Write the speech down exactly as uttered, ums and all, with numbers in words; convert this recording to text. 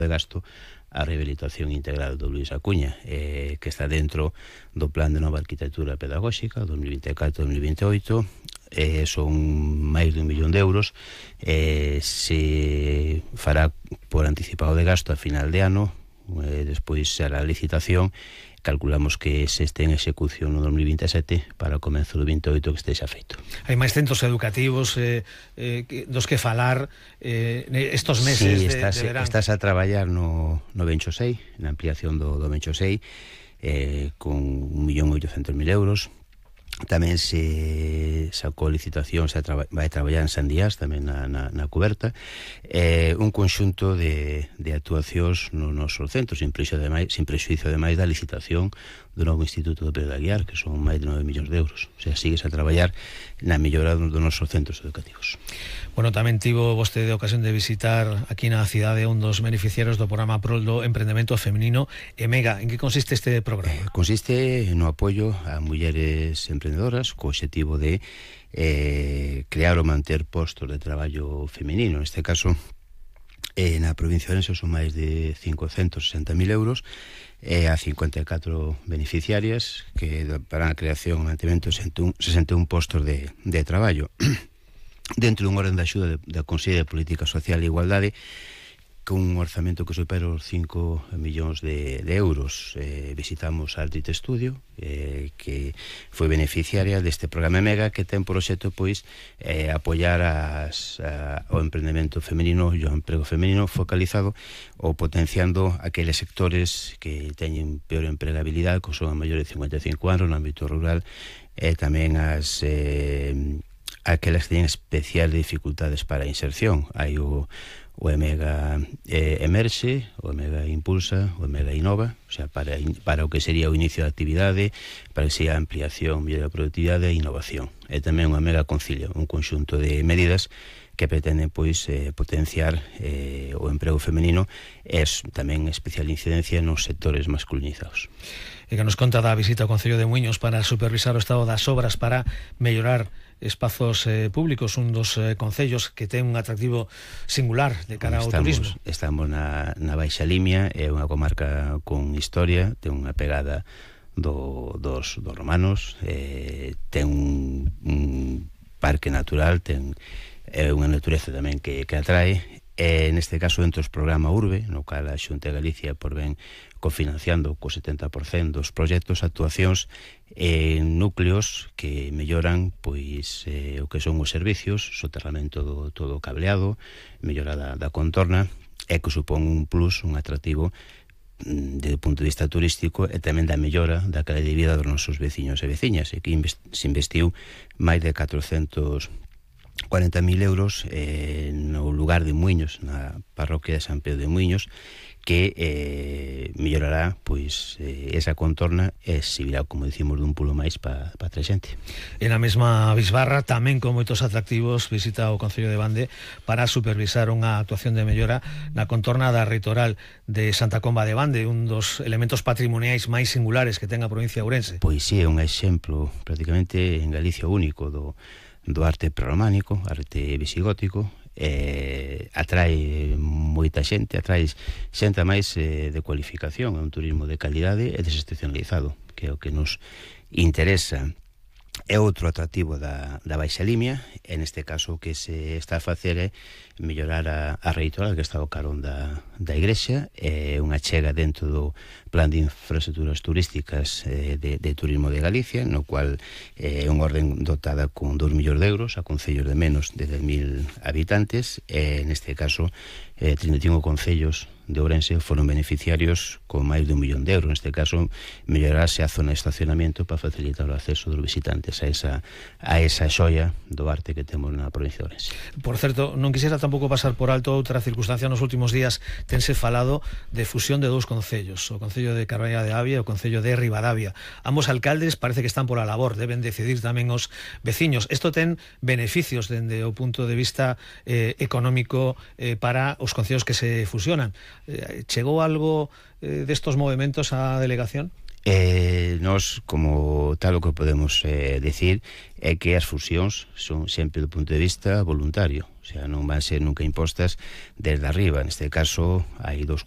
de gasto a rehabilitación integral do Luís Acuña, eh, que está dentro do Plan de Nova Arquitectura Pedagóxica dos mil vinte e catro a dos mil vinte e oito. Eh, son máis de un millón de euros. Eh, se fará por anticipado de gasto a final de ano, eh, despois será a licitación. Calculamos que se este en execución no dos mil vinte e sete para o comenzo do vinte e oito que estexa feito. Hai máis centros educativos eh, eh, dos que falar eh, estos meses sí, de, estás, de verán. Estás a traballar no, no Bencho seis, na ampliación do, do Bencho seis, eh, con un millón oitocentos mil euros. Tamén se sacou licitación, se traba, vai traballar en Sandías, tamén na, na, na coberta, eh, un conxunto de, de actuacións no noso centro, sin prexuízo ademais, sin prexuízo ademais da licitación do novo Instituto de Pedro de Aguiar, que son máis de nove millóns de euros. O sea, sigues a traballar na mellora dos nosos centros educativos. Bueno, tamén tivo vostede a ocasión de visitar aquí na cidade un dos beneficiarios do programa Prol do Emprendemento Feminino EMEGA. En que consiste este programa? Eh, consiste no apoio a mulleres emprendedoras co obxectivo de eh, crear ou manter postos de traballo feminino. Neste caso, eh, na provincia de Ourense son máis de cincocentos sesenta mil euros, eh, a cincuenta e catro beneficiarias que para a creación e mantemento de sesenta e un postos de, de traballo. Dentro dun orden de axuda da Consello de Política Social e Igualdade, con un orzamento que supera os cinco millóns de, de euros. Eh, visitamos a Ardite Studio, eh, que foi beneficiaria deste programa EMEGA, que ten por obxecto pois eh, apoiar as, a, o emprendemento femenino e o emprego femenino focalizado ou potenciando aqueles sectores que teñen peor empregabilidade, que son a maiores de cincuenta e cinco anos no ámbito rural, e tamén as eh, aquelas que teñen especial dificultades para a inserción. Hai o, o EMEGA eh, Emerxe, o EMEGA Impulsa, o EMEGA Innova, o sea, para, para o que sería o inicio da actividade, para que sería a ampliación, mellora da productividade e innovación. E tamén o EMEGA Concilio, un conxunto de medidas que pretenden pois eh, potenciar eh, o emprego femenino e tamén especial incidencia nos sectores masculinizados. E que nos conta da visita ao Concello de Muiños para supervisar o estado das obras para mellorar espazos eh, públicos, un dos eh, concellos que ten un atractivo singular de cara ao estamos, turismo. Estamos na, na Baixa Limia, é unha comarca con historia, ten unha pegada do, dos, dos romanos, eh, ten un, un parque natural, ten eh, unha natureza tamén que, que atrae. E neste caso, dentro do programa Urbe, no cal a Xunta de Galicia por ben cofinanciando co setenta por cento dos proxectos, actuacións en núcleos que melloran pois eh, o que son os servicios, soterramento do todo o cableado, mellora da, da contorna, e que supón un plus, un atractivo desde o punto de vista turístico e tamén da mellora da calidad de vida dos nosos veciños e veciñas, e que se investiu máis de catrocentos cuarenta mil euros eh, no lugar de Muiños, na parroquia de San Pedro de Muiños, que eh, mellorará pois eh, esa contorna e servirá, como dicimos, dun pulo máis para pa a xente. E na mesma Bisbarra, tamén con moitos atractivos, visita o Concello de Bande para supervisar unha actuación de mellora na contorna da Reitoral de Santa Comba de Bande, un dos elementos patrimoniais máis singulares que ten a provincia de Ourense. Pois sí, é un exemplo prácticamente en Galicia único do do arte prerrománico, arte visigótico, eh, atrae moita xente, atrae xente máis eh, de cualificación, é un turismo de calidade e desestacionalizado, que é o que nos interesa. É outro atractivo da, da Baixa Limia, e neste caso o que se está a facer é mellorar a, a Reitoral, que está ao carón da, da igrexa, é unha chega dentro do Plan de Infraestructuras Turísticas eh, de, de Turismo de Galicia, no cual é eh, unha orden dotada con dos millóns de euros a concellos de menos de dez mil habitantes, e neste caso eh, trinta e cinco concellos de Ourense foron beneficiarios con máis de un millón de euros. Neste caso, mellorarase a zona de estacionamento para facilitar o acceso dos visitantes a esa, a esa xoia do arte que temos na provincia de Ourense. Por certo, non quixera tampouco pasar por alto outra circunstancia. Nos últimos días tense falado de fusión de dous concellos, o Concello de Carballeira de Avia e o Concello de Ribadavia. Ambos alcaldes parece que están por a labor, deben decidir tamén os veciños. Isto ten beneficios dende o punto de vista eh, económico eh, para os concellos que se fusionan. Eh, chegou algo eh, destos movimentos á delegación? Eh, nos, como tal, o que podemos eh, decir é que as fusións son sempre do punto de vista voluntario. o sea, non van ser nunca impostas desde arriba. Neste caso hai dous